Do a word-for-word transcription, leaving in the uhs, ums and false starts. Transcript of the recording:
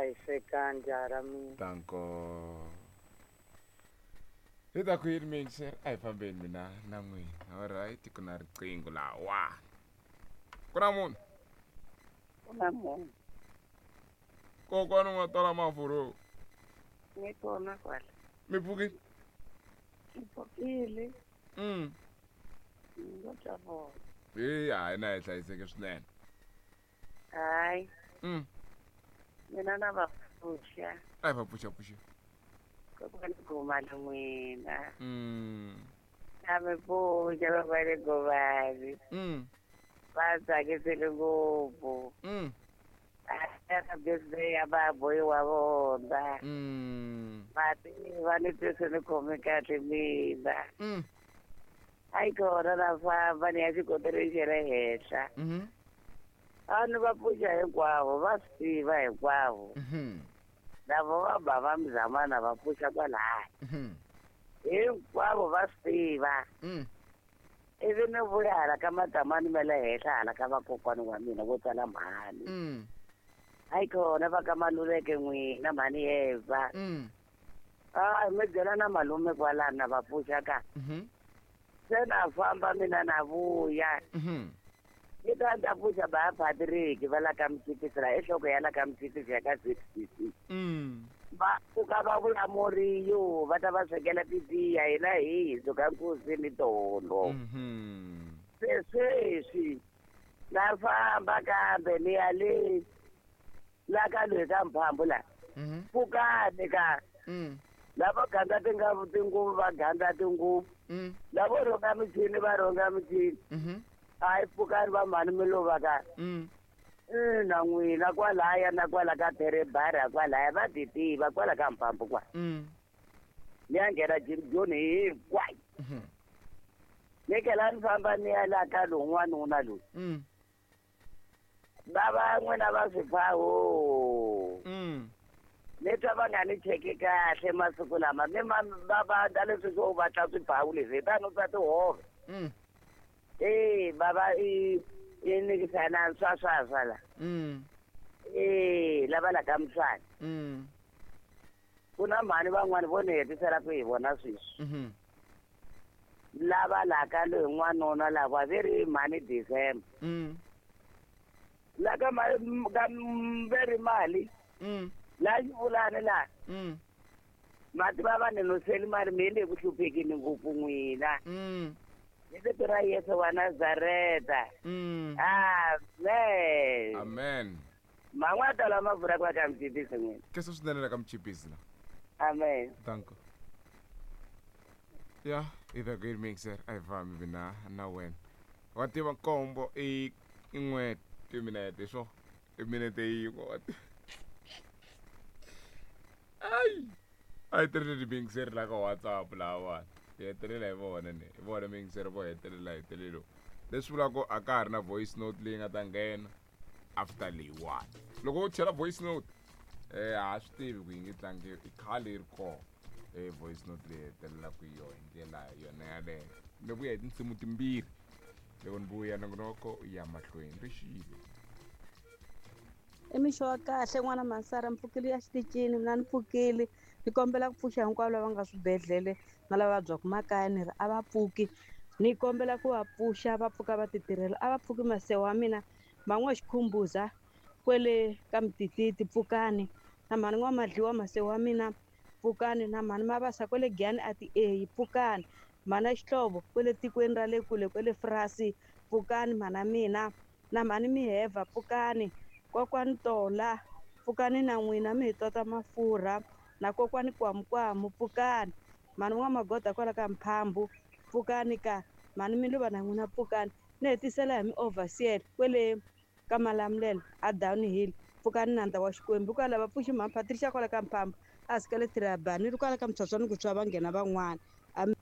Hlayisekani jaha ra mina. Danko. Hi ta ku yini mixer? A hi fambeni mina na n'wina. Alright, ku na riqingho lawa. Ku na munhu? Ku na munhu. Kokwani u nga tala mafurhu. Ni kona kwala. Mi pfukile? Ni pfukile. Mm. Ni twa vona. Hey, hayi na hi hlayiseke swinene. Hayi. Mm. Mina na va pfuxa. A hi va pfuxa pfuxa. Kokwani Gomani n'wina. Mm. Na mi pfuxa kokwani Gomani. Mm. Va tsakisile ngopfu. Mm. A birthday ya baboy wa vona. Mm. Va tiva ni twise ni khome kahle mina. Mm. Hayi kona na famba ni ya xikoteleni xa le henhla. Mhm. A ni va pfuxa hinkwavo, va swi tiva hinkwavo. Mhm. Lavo va ba va mzamana va pfuxa kwalaya. Mhm. Hinkwavo va swi tiva. Mm. Ivi ni vuya hala ka madamani ma le henhla hala ka vakokwani wa mina vo tsala mhani. Mm. Hayi kona va ka Maluleke n'wina mhani Eva. Mm. A mi byela na malume kwalano na va pfuxa ka. Mhm. Se na famba mina na vuya. Mhm. Ni ta ta pfuxa ba Patrick va la ka Mtshipisi la enhloko ya la ka Mtshipisi ya ka Z C C. Mm. Va pfuka va vula moriyo va ta va swekela titiya hina hi suka nkosini tolo. Mhm. Se sweswi na famba kambe ni ya le la ka loyi ka Mphambu la. Mhm. Pfukani ka. Mm. Lavo gandla tinga tinguvu va gandla tinguvu. Mm. Lavo rhunga michini va rhunga michini. Mhm. Hayi pfukani va mhani mi lova ka. Mm. Ina n'wina kwalaya na kwala ka Terebara kwalaya va ti tiva kwala ka Mphambu kwa. Mm. Ni ya nghena Jim Joni hinkwayo. Mhm. Ni tlhela ni famba ni ya la ka lowu n'wanuna loyi. Mm. Va va n'wina va swiphaho. Mm. Ni twa va nga ni cheki kahle masiku lama mi ma va va da leswi swo va tla swiphawu leswi hi tano swa tihove. Mm. Eh baba i i nikisana swa swa swa la. Mm. Eh lava la ka Mswana. Mm. Ku na mhani van'wani vo ni hetisela ku hi vona sweswi. Mhm. Lava la ka loyi n'wanuna lava ve ri mhani December. Mm. La ka ma ka ve ri mali. Mm. La xivulani la. Mm. Mati va va ni nuseli mali mi le ku hluphekeni ngopfu n'wina. Mm. Hi vito ra Yesu wa Nazareta. Mm. Amen. Amen. Man'wana lama vulaka ka Mchipisi n'wina. Kesa swinene la ka Mchipisi la. Amen. Danko. Ya, i the great mixer a hi fambi mina na wena. Wa tiva nkombo i i n'we timinete swo. I minete yin'we wa tiva. Ai. A hi tirhile mixer la ka WhatsApp lahawani. Hi hetelela hi vona ni. Hi vona mixer vo hetelela hi hetelelo. Leswi vulaka ku a ka ha ri na voice note leyi nga ta nghena after leyiwani. Loko u chela voice note, eh a swi tivi ku yi nge tlangiwi, i khale yi ri kona. Eh voice note leyi hetelelaka hi yona hi ndlela yona yaleyo. Ni vuya hi tinsimu timbirhi. Loko ni vuya nongonoko ya mahlweni ri xile. I mixo wa kahle n'wana Masara, ni pfukile ya xitichini mina ni pfukile. Ni kombela ku pfuxa hinkwavo lava nga swibedhlele na lava vabyaka makaya ni ri a va pfuki. Ni kombela ku va pfuxa va pfuka va ti tirhela. A va pfuki masewa wa mina man'we xikhumbuza kwele ka Mtititi pfukani. Na mhani n'wamadliwa masewa wa mina pfukani. Na mhani Mabasa kwele Giyani a ti eyi pfukani. Mhana Xihlovo kwele tikweni ra le kule kwele Frasi pfukani mhana mina. Na mhani Miheva pfukani. Kokwani Tola pfukani na n'wina mi hi tota mafurha. Na kokwani Kwamukwamu pfukani. Mhani n'wamagoda kwala ka Mphambu pfukani ka. Mhani Miluva na n'wina pfukani. Ni hetisela hi mi overseer kwele ka Malamulele a Downhill pfukani nandza wa Xikwembu. Kwala va pfuxi mhani Patricia kwala ka Mphambu a sika le Tirabani ni ri kwala ka Mtshwatshwani ku tshwa va nghena van'wana. Amen.